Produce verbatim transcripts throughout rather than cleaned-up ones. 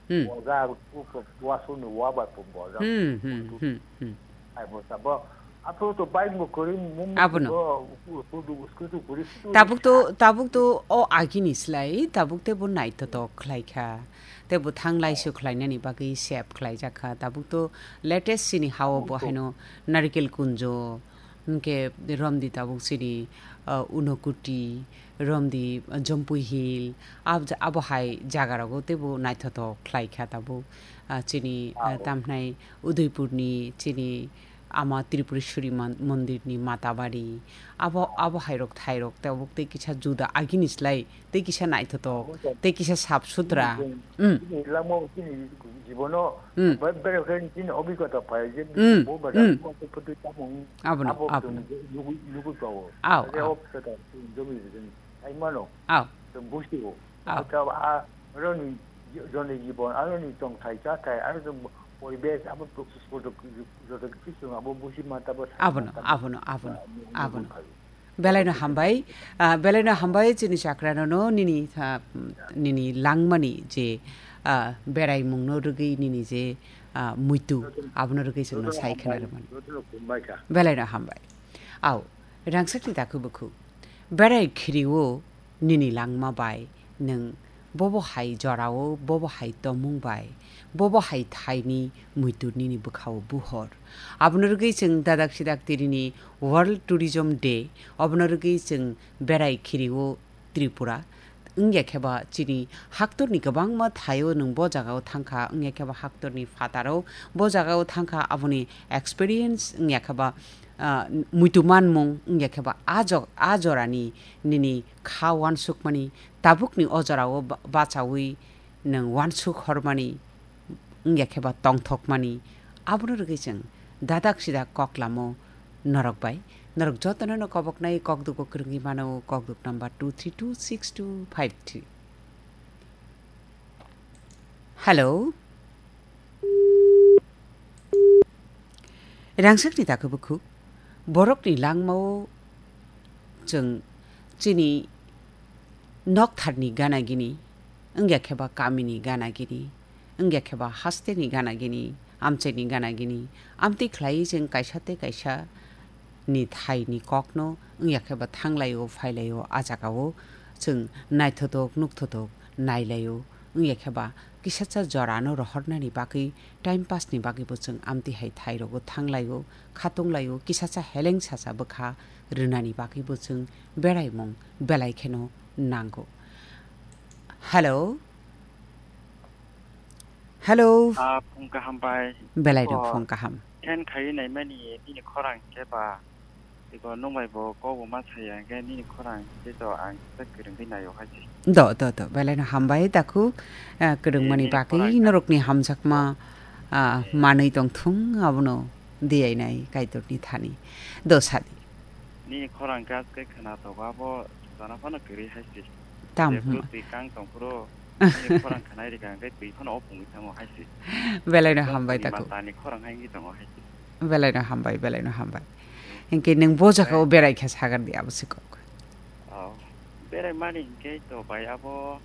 Hmm. Boja, wasuni wa bai bo boja. Hmm, hmm, hmm, hmm. Ai bo sabo. Apo to bike bo kori mum. Abono. Bo, uku, uku, uku, uku, uku, uku, Tabuk to, tabuk to o agini slai, tabuk te bo naithotok khlai kha. Te bo thang laisu khlainani bagwi sep khlai jak kha. Tabuk to latest sini hao bo haino Narikel Kunjo, hwnkhe romdi tabuk sini, ah, Unokuti, romdi, ah, Jompui Hill, ab-, abo hai jaga rogo teibo naithotok khlai kha tabuk, ah, chini, ah, tamhnai Udaipurni chini ama Tripureshwari mon-, mondirni Matabari, abo, abo hairok thairok tabuk tei kisa juda agini slai. Tei kisa naithotok, tei kisa sap sutra. Chini, chini, chini lama, chini jibono, bai, bai khe chini obhigota phai je, bo bai phutu tamung, abono, abo abono. Chwng nugu, nugu tao. Aw, aw. Obhigota chwng jomi rijin. Ai mano. Aw. Chwng busi o. Aw. Abo ta a, aroni joni jibon, aroni tongthai chathai, aro chwng poribesh, abo joto, joto kisi chwng abo busi mata bo. Abono, abono, abono, abono. Belaino hambai, ah, belaino hambai chini chakrano no nini, ah, nini langmani je, ah, beraimungno rwgwi nini je, ah, muitu, abono rwgwi chwngno sai khna rwmani. Belaino hambai. Au, rangchakni dakhu bukhu. Berai khirio nini langma bai nwng bobo hai jorao, bobo hai tongmung bai, bobo hai thaini muitu nini bwkhao buhor. Abono rwgwi chwng dadak sidak tirini World Tourism Day, obono rwgwi chwng berai khirio Tripura. Wngya khe ba chini haktorni kwbangma thaio nwng bo jagao thangkha, wngya khe ba haktorni phataro bo jagao thangkha, aboni experience wngya khe ba, ah, muitu manmung wngya khe ba a jog-, a jorani nini kha uansukmani, tabukni o jorao ba-, bachaui nwng uansuk hormani, wngya khe ba tongthokmani, abono rwgwi chwng dadak sidak kok lamo norok bai. Norok jotono no koboknai kokduk bo kwrwngwi mano, kokduk number two three two six two five three. Hello. Rangchakni dakhu bukhu, borokni langmao chwng chini noktharni gana gini, wngya khe ba kamini gana gini, wngya khe ba hasteni gana gini, amchaini gana gini, amtwi khlaiwi chwng kaisa tei kaisa ni thaini kokno wngya khe ba thanglaio, phailaio, a jagao chwng naithotok, nukthotok nailaio, wngya khe ba kisacha jorano rohornani bagwi, time pass ni bagwi bo chwng amtwi hai thai rogo thanglaio, khatunglaio, kisacha heleng sacha bwkha rwnani bagwi bo chwng beraimung belai kheno nango. Hello? Hello? Ah, phung kaham bai. Belai no phung kaham. Khen khai naimani nini khorang khe ba Iko nwng bai bo kok bo ma saya hwnkhe nini khorang tei to ang kisa kwrwngwi naio hai se. Do, do, do. Belai no hambai dakhu, ah, kwrwngmani bagwi norokni hamjakma, ah, manwi tongthung abono diyainai Kaitorni thani. Do sadi. Nini khorang khe aswk khwna tongo abo sana phano kwrwi hai se. Tam hwnma. Jephuru twi kang tongphuru nini khorang khwnai rikha hwnkhe twi phano opungwi thango hai se. Belai no hambai dakhu. Matani khorang hai wngwi tongo hai se. Belai no hambai, belai no hambai. Hinkhe nwng bo jagao berai kha sagar di abo se kok. Oh, berai mani hinkhe to bai abo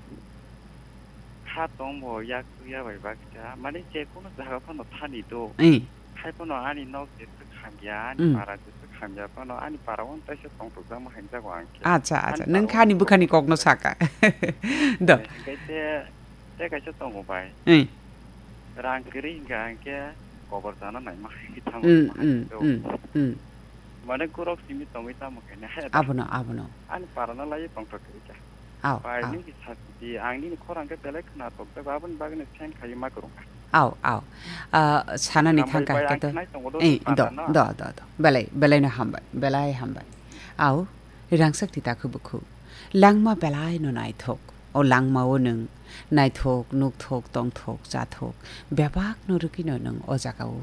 kha tong bo yak tuya bai baksa. Mani je kono jaga phano thani do. Hai phano ani nok je swk hamya, ani para je swk hamya phano ani para on taisa tong tok jama hamjago ang khe. Acha, acha. Nwng kha ani bwkhani kokno saka. Do. Hinkhe te, te kaisa tongo bai. Rang kwrwi hinkha hinkhe kobor chana naima hai tamo. Mane gorok simi tongwi tamo khe ne. Abono, abono. Ani parano lai tongthok kwrwi kha. Aw, bai aw. Nini sakti ang nini khorang khe belai khwna tok jago aboni bagwi no send khai ma kwrwng kha. Aw, aw. Ah, sanani thangkha hwnkhe to. Eh, do, do, do, do. Belai, belai no hambai, belai hambai. Aw, rangsak ti takhu bukhu. Langma belai no naithok. O langmao nwng naithok, nukthok, tongthok, chathok, bebak no rwgwino nwng o jagao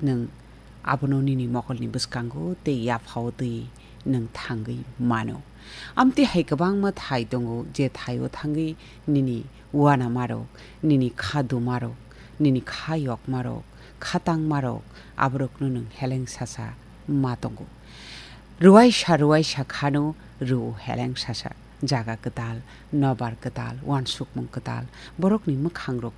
nwng abono nini mokolni bwskango tei yaphao twi nwng thangwi mano. Amtwi hai kwbangma thai tongo, je thaio thangwi nini uanamarok, nini kha dumarok, nini kha yokmarok, kha tangmarok, aborokno nwng heleng sasa ma tongo. Rwai sa rwai sa khano rw heleng sasa. Jaga kwtal, nobar kwtal, uansukmung kwtal, borokni mwkhangrok